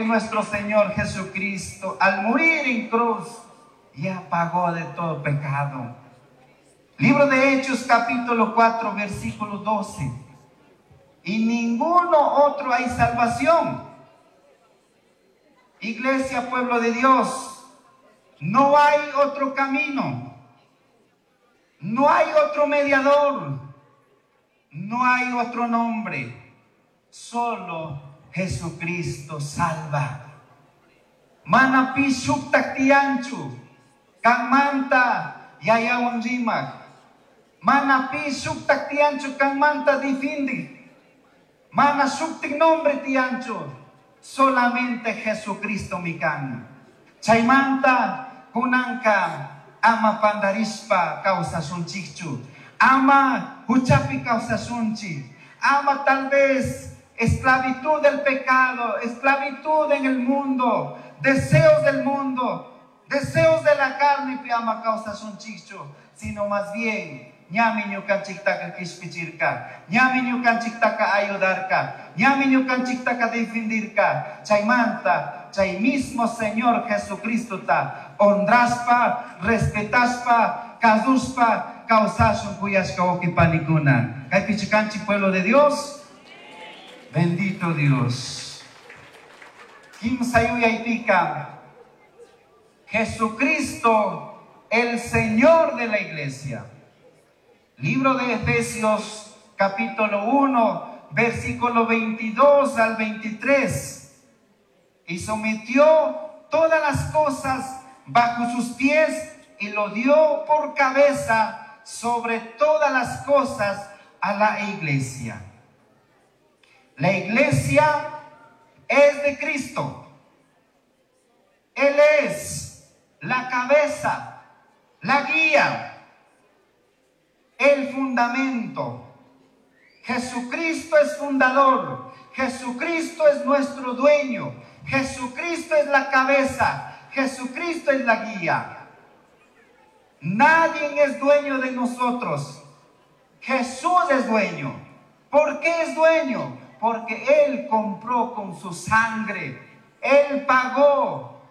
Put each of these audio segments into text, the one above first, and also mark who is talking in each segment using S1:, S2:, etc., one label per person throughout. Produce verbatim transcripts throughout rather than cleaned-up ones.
S1: nuestro Señor Jesucristo, al morir en cruz, ya pagó de todo pecado. Libro de Hechos, capítulo cuatro, versículo doce. Y ninguno otro hay salvación. Iglesia, pueblo de Dios, no hay otro camino. No hay otro mediador. No hay otro nombre. Solo Jesucristo salva. Mana pi shuktak tiyanchu, kanmanta yayawan rimak. Mana pi shuktak tiyanchu, kanmanta difindi. Mana shuktik nombre tiyanchu, solamente Jesucristo mi kan. Chaymanta kunanka ama pandarispa kawsasunchikchu, ama huchapi kawsasunchik, ama tal vez esclavitud del pecado, esclavitud en el mundo, deseos del mundo, deseos de la carne pi ama kawsasunchikchu, sino más bien ñami ñukanchiktaka kishpichirka, ñami ñukanchiktaka ayudarka, ñami ñukanchiktaka defendirka. Chaymanta, chay mismo Señor Jesucristo ta honraspa, respetaspa, kasuspa, kawsashun kuyashka wawqipanikuna. Kaypichu kanchik, pueblo de Dios. Bendito Dios. Kimsa yuyaypika, Jesucristo, el Señor de la iglesia. Libro de Efesios, capítulo uno, versículo veintidós al veintitrés. Y sometió todas las cosas bajo sus pies y lo dio por cabeza sobre todas las cosas a la iglesia. La iglesia es de Cristo. Él es la cabeza, la guía, el fundamento. Jesucristo es fundador. Jesucristo es nuestro dueño. Jesucristo es la cabeza. Jesucristo es la guía. Nadie es dueño de nosotros. Jesús es dueño. ¿Por qué es dueño? Porque Él compró con su sangre. Él pagó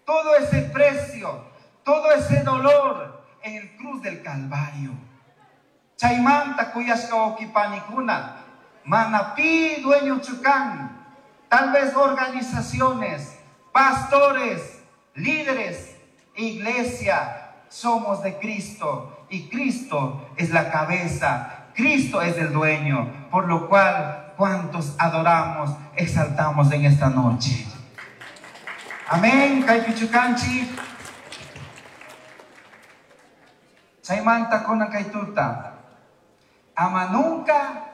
S1: todo ese precio, todo ese dolor en el cruz del Calvario. Chaymanta kuyashka wawqipanikuna, mana pi dueñochu kan, tal vez organizaciones, pastores, líderes, iglesia, somos de Cristo y Cristo es la cabeza, Cristo es el dueño, por lo cual cuantos adoramos, exaltamos en esta noche. Amén. Kaypichu kanchik. Chaymanta kunan kaytuta. Ama nunca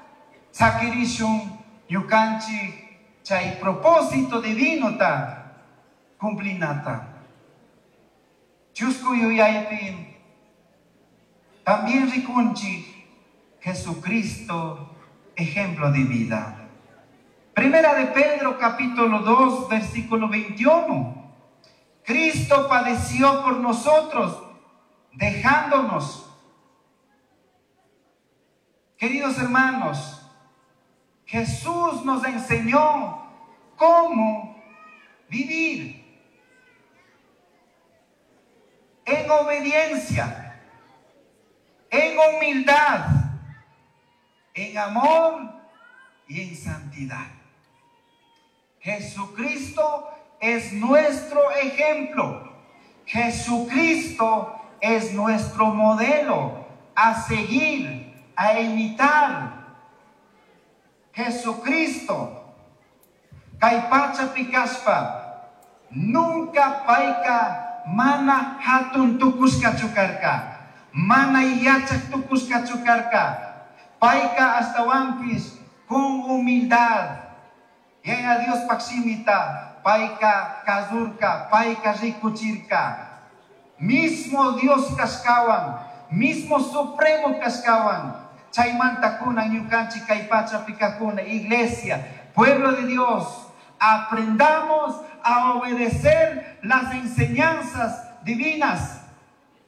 S1: sakirishun ñukanchik chay propósito divino ta cumplinata. Chusku yuyaypi también rikunchik Jesucristo, ejemplo de vida. Primera de Pedro, capítulo dos, versículo veintiuno. Cristo padeció por nosotros, dejándonos. Queridos hermanos, Jesús nos enseñó cómo vivir en obediencia, en humildad, en amor y en santidad. Jesucristo es nuestro ejemplo. Jesucristo es nuestro modelo a seguir, a imitar. Jesucristo, kay pacha pikashpa, nunca payka mana hatun tukushkachu karka, mana yachak tukushkachu karka. Payka astawanpis con humildad. Yaya Dios pakshimita, payka kazurka, payka rikuchirka. Mismo Dios kashkawan, mismo Supremo kashkawan. Chaymanta kuna ñukanchik kay pachapi kajkuna, iglesia, pueblo de Dios, aprendamos a obedecer las enseñanzas divinas.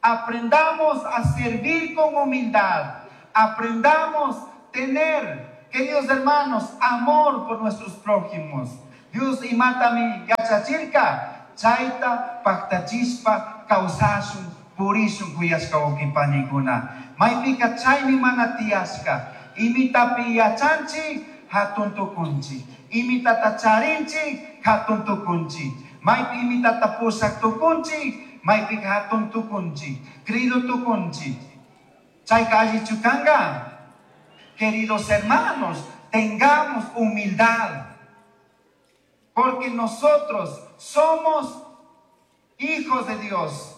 S1: Aprendamos a servir con humildad. Aprendamos a tener, queridos hermanos, amor por nuestros prójimos. Dios imatami yachachirka chayta paktachishpa kawsashun purishun kuyashka wawqipanikuna. Maypika chaymi mana tiyashka. Imitapi yachanchik hatun tukunchik. Imitata charinchik hatun tukunchik. Maypi imitata pushak tukunchik, maypika hatun tukunchik, creído tukunchik. Chayka allichu kanka. Queridos hermanos, tengamos humildad, porque nosotros somos hijos de Dios,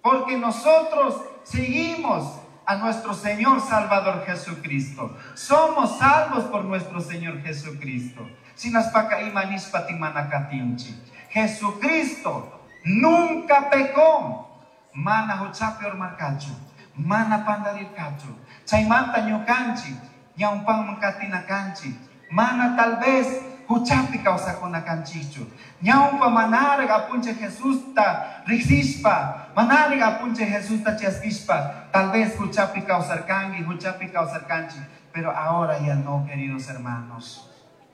S1: porque nosotros seguimos a nuestro Señor Salvador Jesucristo. Somos salvos por nuestro Señor Jesucristo. Sinaspaka ima nishpa mana katinchi. Jesucristo nunca pecó. Mana huchapi urmarkachu, mana pandarirkachu. Chaymanta ñukanchik, ñawpanman katina kanchik. Mana tal vez huchapi kawsakuna kanchikchu. Ñawpa manaraq apunchik Jesusta riqsishpa, manaraq apunchik Jesusta chaskishpa, tal vez huchapi kawsarkanki, huchapi kawsarkanchik, pero ahora ya no, queridos hermanos.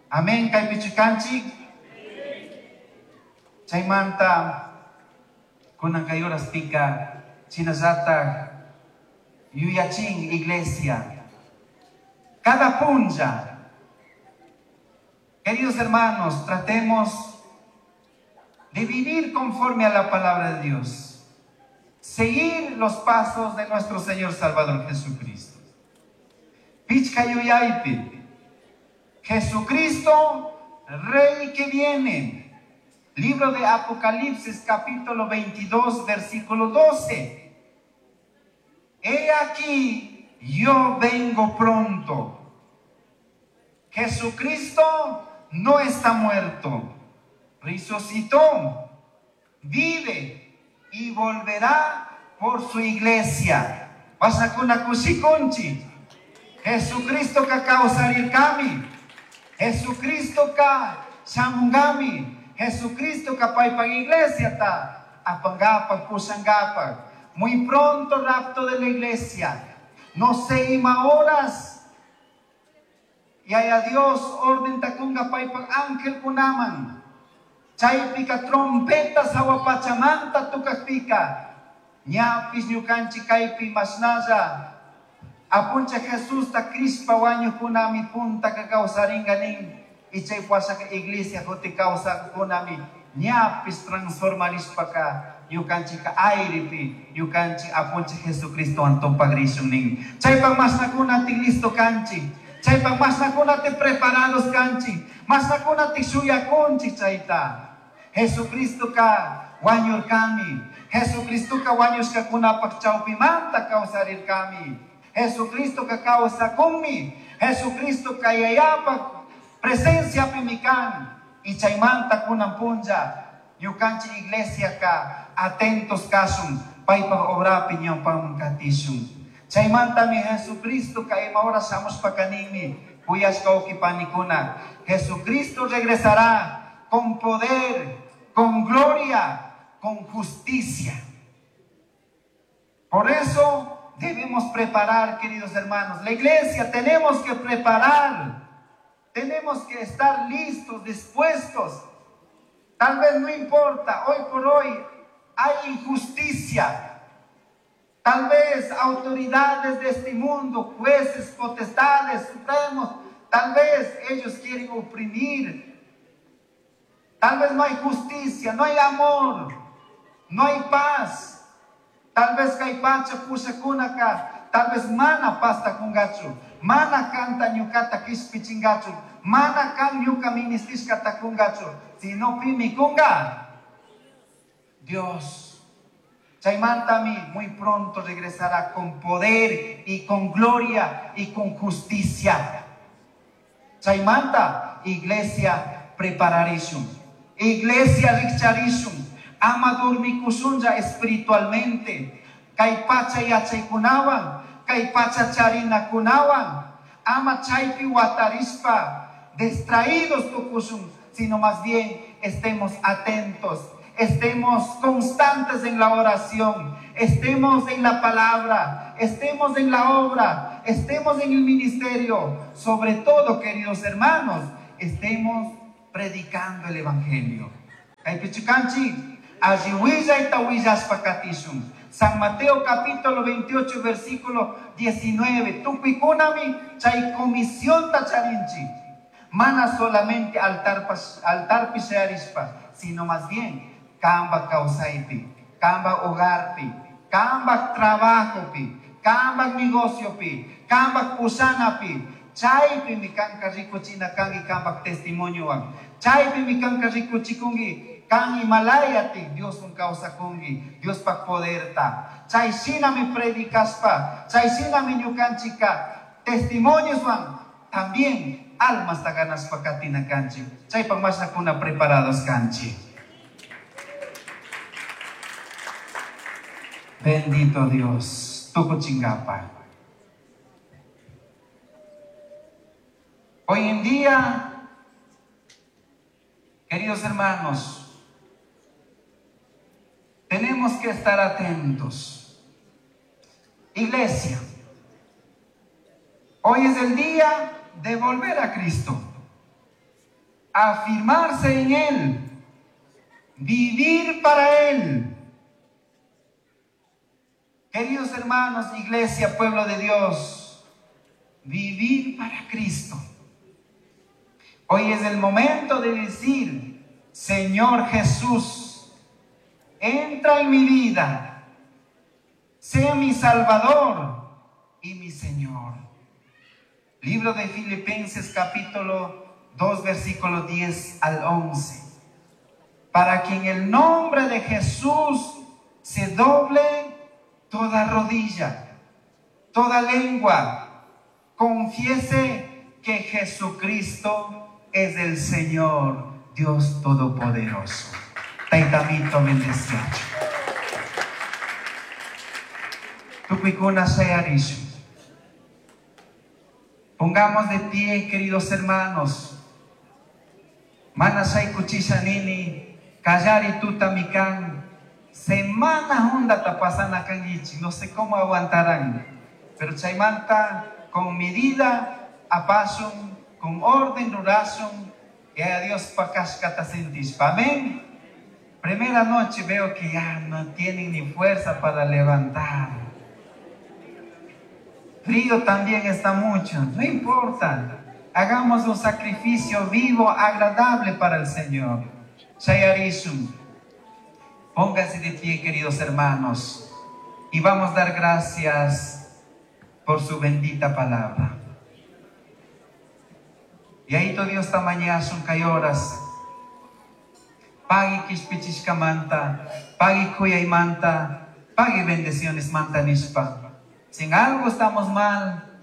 S1: Amén, kaypichu kanchik. Chaymanta kunan kay horaspika shinallatak yuyachin iglesia. Cada punlla, queridos hermanos, tratemos de vivir conforme a la palabra de Dios. Seguir los pasos de nuestro Señor Salvador Jesucristo. Pichka yuyaypi, Jesucristo, Rey que viene. Libro de Apocalipsis, capítulo veintidós, versículo doce. He aquí, yo vengo pronto. Jesucristo no está muerto. Resucitó, vive y volverá por su iglesia. Wasakuna kushikunchi. Jesucristo ka kawsarirkami. Jesucristo ka shamungami. Jesucristo ka paypaj iglesia ta apangapaj pushangapaj. Muy pronto rapto de la iglesia. No sé ima horas. Y haya Dios orden takunga paypaj ángel kunaman. Chaypika trompetas hawapachamanta tukakpika. Ñapis ñukanchik kaypi mashnalla. Apuncha Jesús ta crispa wañukunami punta ka kawsaringa nin. Y chay washaka iglesia juti kawsakunami ñapis transformarishpaka ñukanchika airepi ñukanchik apuncha Jesucristo antopagrishun nin. Chaypak mashnakuna ti listo kanchik. Chaypak mashnakuna ti preparados kanchik. Mashnakuna ti shuyakunchik chayta. Jesucristo ka wañurkami. Jesucristo ka wañushkakunapak chawpimanta kawsarirkami. Jesucristo ka kawsakunmi. Jesucristo ka yayapak presencia pimikan. Y chaymanta kunan punlla ñukanchik iglesia ka atentos kashun paypak obrapi ñawpaman katishun. Chaymantami Jesucristo ka ima hora shamushpa ninmi kuyashka wawqipanikuna. Jesucristo regresará con poder, con gloria, con justicia. Por eso debemos preparar, queridos hermanos. La iglesia tenemos que preparar. Tenemos que estar listos, dispuestos. Tal vez no importa, hoy por hoy hay injusticia. Tal vez autoridades de este mundo, jueces, potestades, supremos, tal vez ellos quieren oprimir. Tal vez no hay justicia, no hay amor, no hay paz. Tal vez kay pacha pushakunaka, tal vez mana pasta kungachu, mana kanta ñukata kishpichingachu, mana kan ñuka ministishkata kungachu, sino pimi kunga. Dios. Chaymantami muy pronto regresará con poder y con gloria y con justicia. Chaymanta, iglesia prepararishun. Iglesia rikcharishun. Ama dormikushunlla espiritualmente. Kay pacha yachaykunawan, kay pacha charinakunawan. Ama chaypi watarishpa distraídos tukushun, sino más bien estemos atentos, estemos constantes en la oración, estemos en la palabra, estemos en la obra, estemos en el ministerio. Sobre todo, queridos hermanos, estemos Predicando el evangelio. Kaypichu kanchik, alli willayta willashpa katishun. San Mateo capítulo veintiocho versículo diecinueve. Tukuykunami chay comisionta charinchik. Mana solamente altar altarpi shayarishpa, sino más bien kamba kawsaypi, kamba hogarpi, kamba trabajopi, kamba negociopi, kamba pushanapi. Chaypimi kanka rikuchina kanki kamba testimoniowan. Chaypimi kanka rikuchikunki kan imalayati Dioswan kawsakunki, Diospak poderta. Chay shinami predicashpa, chay shinami ñukanchika testimonioswan también almasta ganashpa katina kanchik. Chaypak mashnakuna preparados kanchik. Bendito Dios, tukuchinkapa. Hoy en día, queridos hermanos, tenemos que estar atentos. Iglesia, hoy es el día de volver a Cristo, afirmarse en Él, vivir para Él. Queridos hermanos, iglesia, pueblo de Dios, vivir para Cristo. Hoy es el momento de decir: Señor Jesús, entra en mi vida, sea mi Salvador y mi Señor. Libro de Filipenses capítulo dos, versículo diez al once. Para que en el nombre de Jesús se doble toda rodilla, toda lengua, confiese que Jesucristo es el Señor, Dios Todopoderoso. Taitamito bendeciacho. Tukuykuna shayarishu. Pongamos de pie, queridos hermanos. Mana shaykuchisha nini, kallari tuta mikan. Semana hundata pasana kangichi. No sé cómo aguantarán. Pero chaymanta, con medida, apasun, con orden, rurasun, y a Dios pakashkata sentispa. Amén. Primera noche veo que ya no tienen ni fuerza para levantar. Frío también está mucho. No importa. Hagamos un sacrificio vivo, agradable para el Señor. Shayarishun. Pónganse de pie, queridos hermanos, y vamos a dar gracias por su bendita palabra. Y ahí todo Dios tamañasun kayoras. Pagui kishpichishka manta, pagui kuyay manta, pagui bendiciones manta nishpa. Si en algo estamos mal,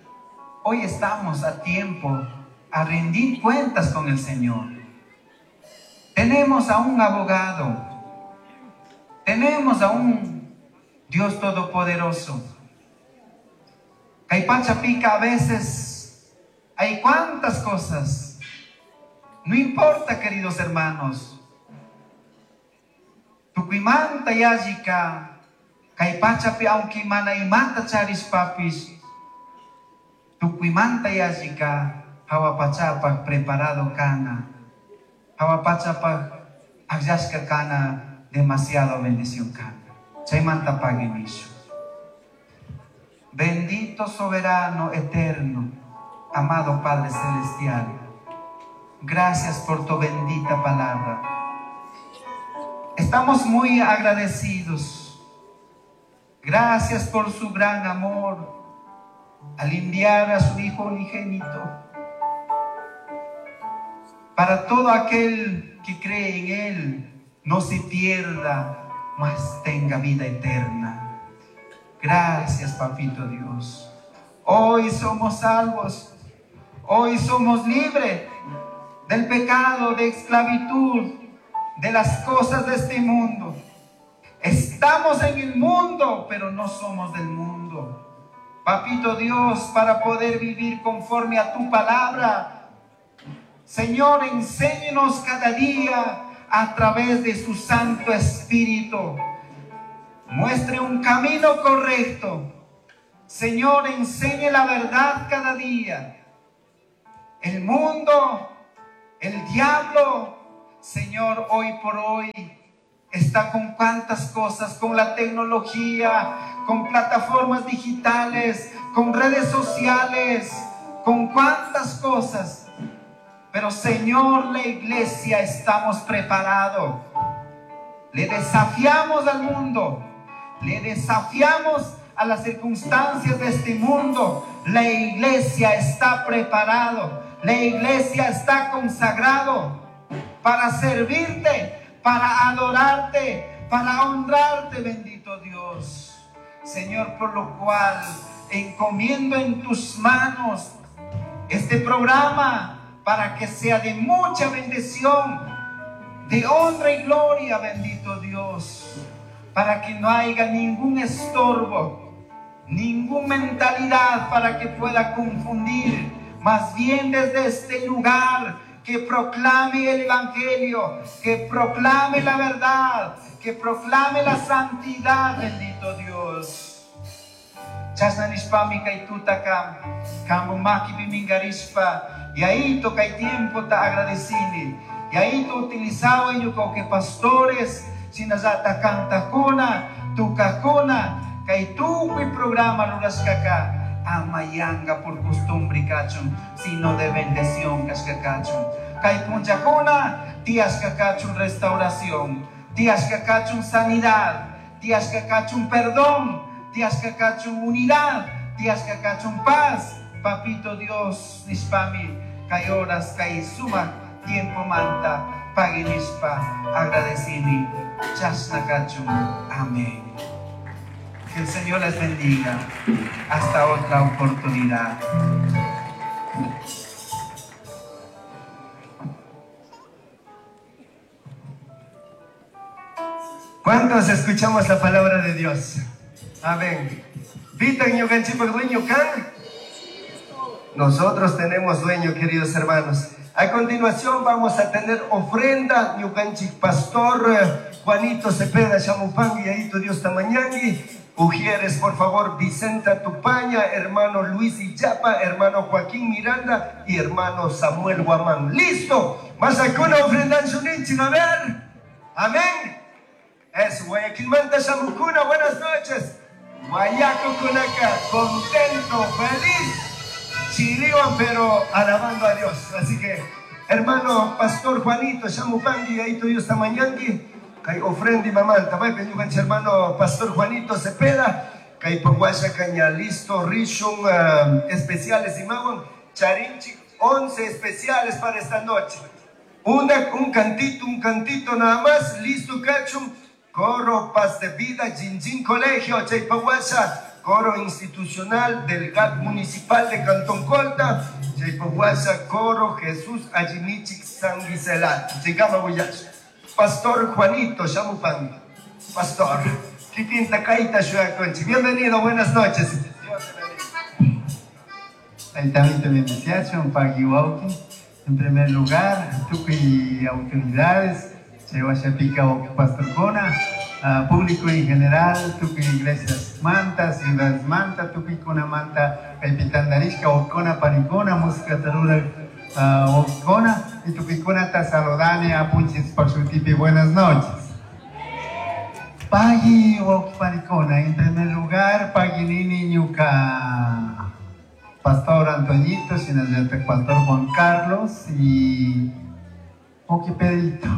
S1: hoy estamos a tiempo a rendir cuentas con el Señor. Tenemos a un abogado, tenemos a un Dios Todopoderoso. Kaypacha pica a veces, hay cuantas cosas. No importa, queridos hermanos. Tukuymanta yallika, kaypachapi aunque mana imata charishpapis, tukuymanta yallika, hawapachapaj preparado kana, hawapachapaj akllashka kana, demasiado bendición kana. Chaymanta pagui nishu. Bendito soberano eterno, amado Padre Celestial, gracias por tu bendita palabra. Estamos muy agradecidos. Gracias por su gran amor al enviar a su Hijo unigénito. Para todo aquel que cree en Él, no se pierda, mas tenga vida eterna. Gracias, Papito Dios. Hoy somos salvos. Hoy somos libres del pecado, de esclavitud, de las cosas de este mundo. Estamos en el mundo, pero no somos del mundo. Papito Dios, para poder vivir conforme a tu palabra, Señor, enséñenos cada día a través de su Santo Espíritu. Muestre un camino correcto. Señor, enseñe la verdad cada día. El mundo El diablo, Señor, hoy por hoy está con cuantas cosas, con la tecnología, con plataformas digitales, con redes sociales, con cuantas cosas. Pero, Señor, la iglesia estamos preparados. Le desafiamos al mundo, le desafiamos a las circunstancias de este mundo. La iglesia está preparado, la iglesia está consagrado para servirte, para adorarte, para honrarte, bendito Dios. Señor, por lo cual encomiendo en tus manos este programa para que sea de mucha bendición, de honra y gloria, bendito Dios, para que no haya ningún estorbo, ninguna mentalidad para que pueda confundir, más bien desde este lugar que proclame el Evangelio, que proclame la verdad, que proclame la santidad, bendito Dios. Chasnanishpami kay tutaka, kambumaki bimingarishpa, y ahí toca el tiempo ta agradecini, y ahí tu utilizado yo que pastores, sinazata cantakuna, tukakuna, kay tukuy programa rurashkaka, amayanga por costumbre kachun, sino de bendición kashkakachun. Kay punchakuna, tiashkakachun restauración, tiashkakachun sanidad, tiashkakachun perdón, tiashkakachun unidad, tiashkakachun paz. Papito Dios, nishpami, kay horas, kay suma, tiempo manta, paginishpa, agradecini, chasnakachun. Amén. Que el Señor les bendiga. Hasta otra oportunidad.
S2: ¿Cuántos escuchamos la palabra de Dios? Amén. Vitan ñukanchikpak dueño kan. Nosotros tenemos dueño, queridos hermanos. A continuación vamos a tener ofrenda. Ñukanchik pastor Juanito Cepeda Chamupangui, ahí tu Dios tamañangui. Ujieres, por favor, Vicenta Tupaña, hermano Luis Illapa, hermano Joaquín Miranda y hermano Samuel Guamán. ¡Listo! Más acá una ofrenda en su ninchi, a ver. Amén. Es Guayaquil Manta Chamucuna, buenas noches. Guayaco Cunaca, contento, feliz. Chiriwan, pero alabando a Dios. Así que, hermano Pastor Juanito Chamupangui, ahí tu Dios tamañangui. Kay ofrenda y mamanta, vai peñuganche hermano Pastor Juanito Cepeda, kay Paguasha Caña listo, Rishun uh, especiales y mawan, Charinchi, once especiales para esta noche. Una, un cantito, un cantito nada más, listo cachum, coro Paz de Vida, Jinjin Colegio, Chaypaguasha, coro institucional del G A T Municipal de Cantón Colta, Chaypaguasha, coro Jesús Ayimichik San Giselat, Chicama Huillash. Pastor Juanito Chamupangui, Pastor, Kikinta Kaita Shuaconchi. Bienvenido, buenas noches. Dios te bendiga.
S3: Ahí también te. En primer lugar, tukuy autoridades, Chayhuashapica Pastor Kona, uh, público en general, tukuy iglesias manta, ciudades manta, tukuy kona manta, kaypitandarishka, okona panikona, música tarura, uh, okona, y tukuykuna ta saludani, apunchis pashutipi, buenas noches. Pagui panikona, en primer lugar, paginini ñuka Pastor Antoñito, shinallataq Pastor Juan Carlos y Oki Pedrito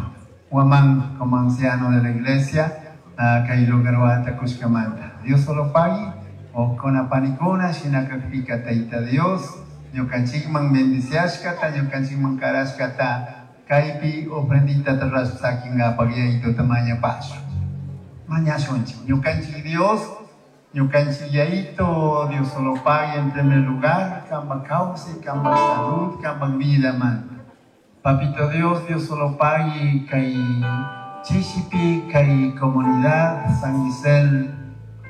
S3: Guamán como anciano de la iglesia, kay lugar wata Kushkamanta. Dios solo pagui, okona panikona, shinakakpika taita Dios, ñukanchikman bendiciashkata, ñukanchikman karashkata, kaypi ofrendita tarrashpasakingapak yayito tamaña pasho. Mañashunchik, ñukanchik Dios, ñukanchik yayito, Dios solo pague en primer lugar, kamba causa, kamba salud, kamba vida man. Papito Dios, Dios solo pague, kay chishipi, kay comunidad, San Gisel,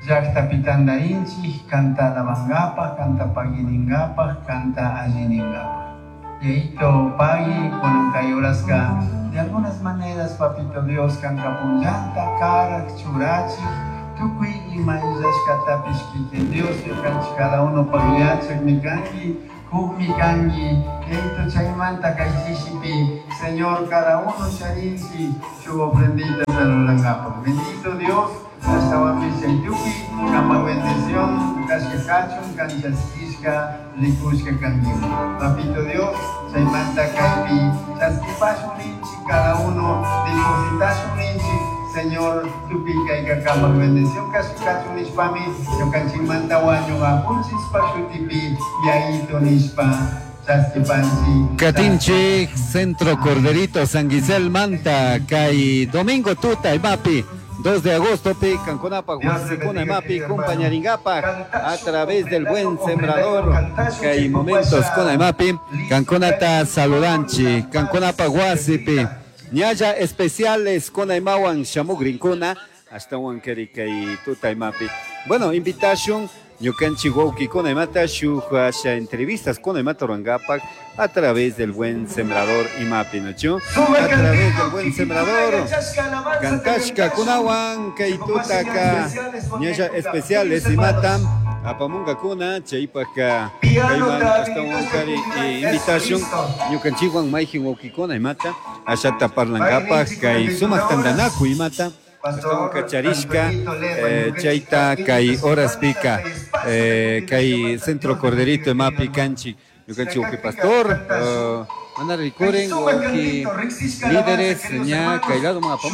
S3: llaqta pitandarinchik, canta alabangapaj, canta paguiningapaj, canta alliningapaj. Yayito pagui, kunan kay horaska, de algunas maneras, Papito Dios, kanka punllanta, karak, churachik, tukuy ima illashkatapish kikin Dios, ñukanchik cada uno paguiachak mikanki, Kukmi kanki, Yaito chaymanta kay chishipi, Señor, cada uno charinchi, shuk ofrendita saludangapak. Bendito Dios, ashtawanmi chaytukuy, kama bendición, kashka kachun, kanchaskishka, rikushka kanki. Papito Dios, chaymanta kaypi, chaskipashun ninchik, cada uno depositashun ninchik, Señor, tukuy kayka kama bendición kashka kachun nishpami, ñukanchikmanta wañuq apunchishpa shutipi, Yaito nishpa, chaskipanchik.
S4: Katinchik, Centro Corderito, San Gisel Manta, kay domingo tuta imapi, dos de agosto pi, Canconapa,
S2: Dios te
S4: Huasicuna
S2: bendiga,
S4: imapi,
S2: querido hermano.
S4: compañaringapa, a través del buen sembrador,
S2: Cantashu,
S4: kay momentos con imapi, Canconata saludanchi, Canconapa Huasipi, ñalla especiales con imawan shamugrinkuna, hasta keri kay tuta imapi. Bueno, invitación, ñukanchik wawkikuna imata shuk asha entrevistas con imata rurangapak a través del buen sembrador imapi, ¿no?
S2: Sube
S4: A través
S2: cantito,
S4: del buen sembrador. Kantashka kunawan kay tutaka ñalla especiales imata apamungakuna chaypaka kayman ashtawan kari invitación ñukanchikwan mayjin wawkikuna imata ashata parlangapak kay sumak tantanakuy imata ashtawan kacharishka eh, chayta kay horaspika eh, kay Centro Corderito imapi kanchik ñukanchik wawki pastor eh, mana rikurin wawki líderes ña kay lado apamunga.